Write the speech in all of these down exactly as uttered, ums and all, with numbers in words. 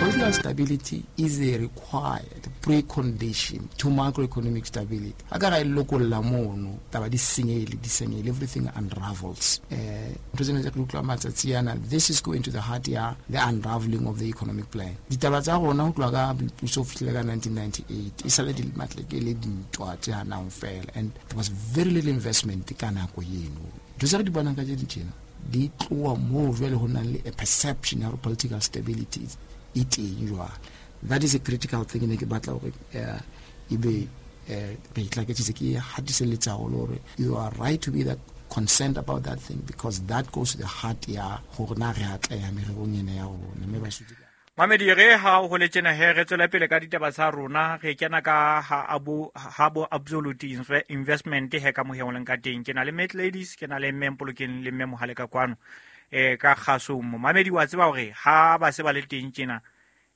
Political stability is a required precondition to macroeconomic stability. Ha ka ra e lokolla mono, taba di senyehile, di senyehile, everything unravels. Eh, ntho tsena tse re utlwa matsatsi ana, this is going to the heart ya the unraveling of the economic plan. Ditaba tsa rona ho tloha ka boipuso ho fihlela ka nineteen ninety-eight, e sale di matleke le dintwa tse hanang fela, and there was very little investment ka nako eno. Ntho tse re di bonang kajeno tjena di tloha moo jwale ho nang le a perception ya hore political stability e teng jwale. That is a critical thing ne ke batla hore, eh, ebe, eh, re itlaketsitse ke hatiselletsa haholo hore you are right to be that concerned about that thing, because that goes to the heart ya hore na re atleha mererong ena ya rona, mme ba sutse ka Mamedi, re ha ho le tjena he, re tswela pele ka ditaba tsa rona, re kena ka ha abo, ha bo Absolute Inve-, Investment he ka mohe o leng ka teng. Ke na le Mat Ladies, ke na le Mme Mpolokeng le Mme Mohale ka kwano, eh, ka kgasong mo. Mamedi, wa tseba hore ha ba se ba le teng tjena,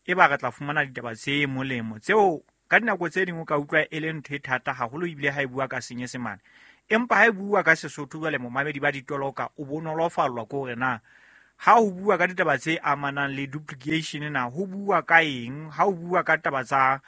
e ba re tla fumana ditaba tse molemo tseo ka dinako tse ding o ka utlwa e le ntho e thata haholo, ebile ha e bua ka Senyesemane. Empa ha e bua ka Sesotho jwale momamedi ba ditoloka o bonolofallwa ke hore na ha ho bua ka ditaba tse amanang le duplication na ho bua ka eng, ha ho bua ka taba tsa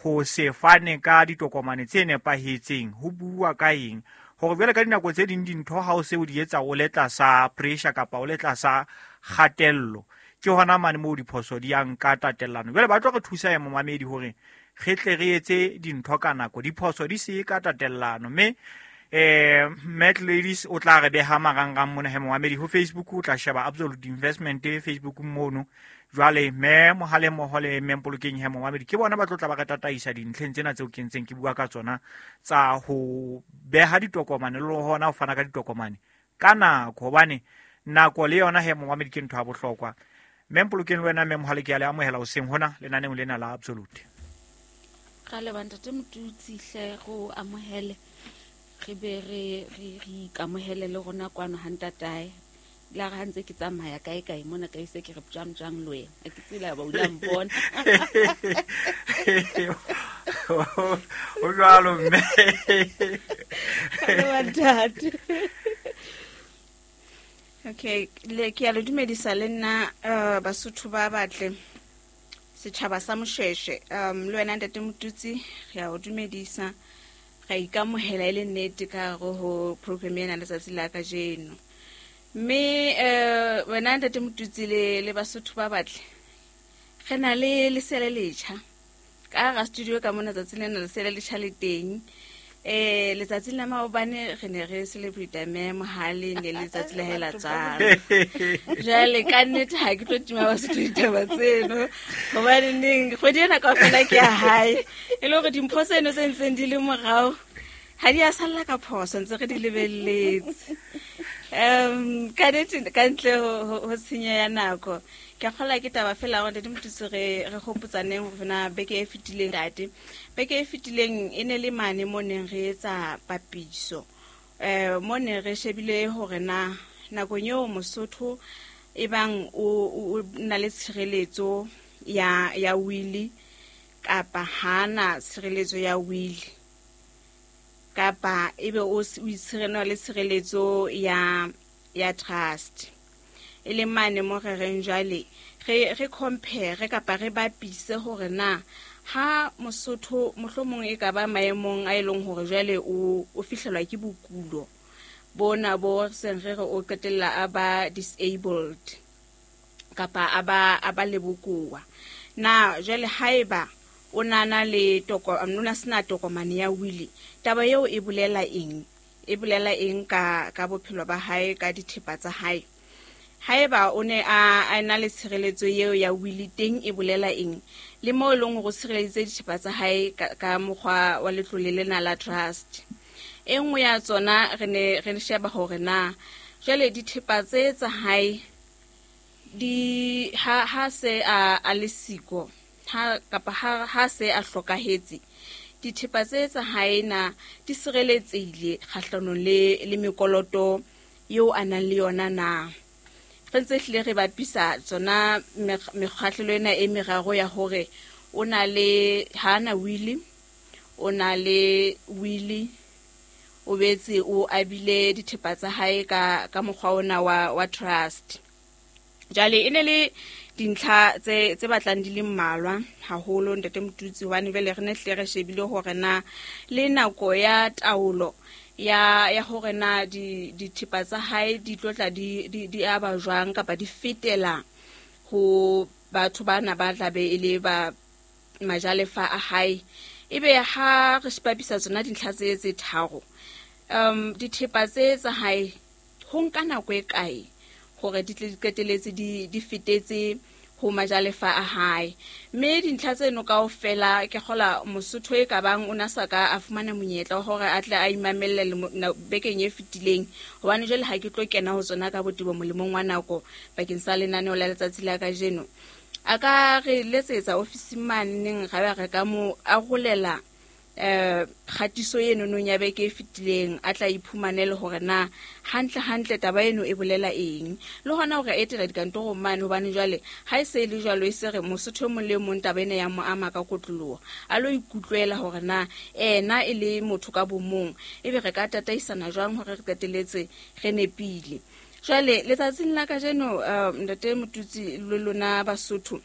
ho se fane ka ditokomane tse nepahetseng ho bua ka eng, hore jwale ka dinako tse ding dintho ha o se o di etsa o le tlasa pressure kapa o le tlasa kgatello, ke hona mane moo diphoso di yang ka tatellano. Jwale ba tlo re thusa ya momamedi hore re tle re etse dintho ka nako, diphoso di se ka tatellano. Mme, eh, Mat Ladies o tla re beha marangrang mona he momamedi ho Facebook, o tla sheba Absolute Investment Facebook mono. Jwale mme Mohale mmoho le Mme Mpolokeng he momamedi ke bona ba tlo tla ba re tataisa dintlheng tsena tseo ke ntseng ke bua ka tsona tsa ho beha ditokomane le hona ho fana ka ditokomane ka nako, hobane nako le yona he momamedi ke ntho ya bohlokwa. Mme Mpolokeng le wena Mme Mohale ke a le amohela hoseng hona lenaneong lena la Absolute. Ra leboha ntate Motutsi hle, re o amohele, re be re, re, re ikamohele le rona kwano ha ntatae. La re ha ntse ke tsamaya kae kae mona ka ise ke re jwang jwang le wena. Ha ke tsebe ha ba o la mpona. O jwalo mme. Ra leboha ntate. Okay, le ke a le dumedisa le nna, eh, Basotho ba batle, setjhaba sa Moshweshwe. Um, le wena ntate Motutsi, re a o dumedisa, ra ikamohela e le nnete ka hare ho program ena letsatsi la kajeno. Mme, eh, wena ntate Motutsi le, le Basotho ba batle, re na le lesea le letjha ka hara studio ka mona. Tsatsi lena lesea le letjha le teng. Eh, letsatsi la maobane re ne re celebrate mme Mohale, ne le letsatsi la hae la tswalo. Jwale ka nnete ha ke tlo tima Basotho ditaba tseno, hobane neng kgwedi ena kaofela ke ya hae. E le hore dimpho tseno tse ntseng di le morao ha di a salla ka phoso, ntse re di lebelletse. Um, ka nnete, ka ntle ho, ho, ho tshenyo ya nako, ke a kgolwa ke taba fela hore Ntate Motutsi re, re hopotsaneng hore na beke e fetileng, ntate, beke e fetileng e ne le mane mo neng re etsa papiso. Eh, mo neng re shebile hore na nakong eo Mosotho e bang o, o, o na le tshireletso ya, ya wili kapa hana tshireletso ya wili, kapa ebe o s-, o itshirena le tshireletso ya, ya trust. E leng mane mo re reng jwale re, re compare kapa re bapise hore na ha Mosotho mohlomong e ka ba maemong a e leng hore jwale o, o fihlelwa ke bokulo bona bo seng re re o qetella a ba disabled kapa a ba, a ba le bokowa. Na jwale haeba o nana le toko, o na sena tokomane ya wili, taba eo e bolela eng? E bolela eng ka, ka bophelo ba hae, ka dithepa tsa hae? Haeba o ne a, a na le tshireletso eo ya wili teng e bolela eng? Le moo e leng hore o tshireleditse dithepa tsa hae ka, ka mokgwa wa letlole lena la trust. E nngwe ya tsona re ne re sheba hore na jwale dithepa tse tsa hae di ha, ha se a, a le siko, ha, kapa ha, ha se a hlokahetse, dithepa tse tsa hae na di sireletsehile kgahlanong le, le mekoloto eo a nang le yona na? Re ntse hlile re bapisa tsona mekg-, mekgahlelo ena e meraro ya hore o na le, ha na wili, o na le wili, o betse o abile dithepa tsa hae ka, ka mokgwa ona wa, wa trust. Jwale e ne le Dintlha tse tse batlang di le mmalwa haholo, ntate Motutsi, hobane jwale re ne hle re shebile hore na le nako ya taolo ya ya hore na di dithepa tsa hae di tlo tla di di di aba jwang kapa di fetela ho batho bana ba tlabe e le ba majalefa a hae. Ebe ha re bapisa tsona dintlha tse tse tharo, um dithepa tse tsa hae ho nka nako e kae hore di tle di qeteletse di di fetetse ho majalefa a hae? Mme dintlha tseno kaofela ke kgola Mosotho e ka bang o na sa ka a fumana monyetla wa hore a tle a imamelle lemo- na- bekeng e fetileng, hobane jwale ha ke tlo kena ho tsona ka botebo molemong wa nako bakeng sa lenaneo la letsatsi la kajeno. A ka re letsetsa ofising maneneng, ra ba re ka mo arolela eh kgatiso eno nong ya beke e fetileng, a tla iphumanele hore na hantle hantle taba eno e bolela eng, le hona hore etela dikantorong mane, hobane jwale ha e se e le jwalo, e se re Mosotho e mong le e mong taba ena ya mo ama ka kotloloho, a lo ikutlwela hore na ena e le motho ka bomong ebe re ka tataisana jwang hore re qeteletse re nepile. Jwale letsatsing la kajeno, eh, ntate Motutsi le lona Basotho.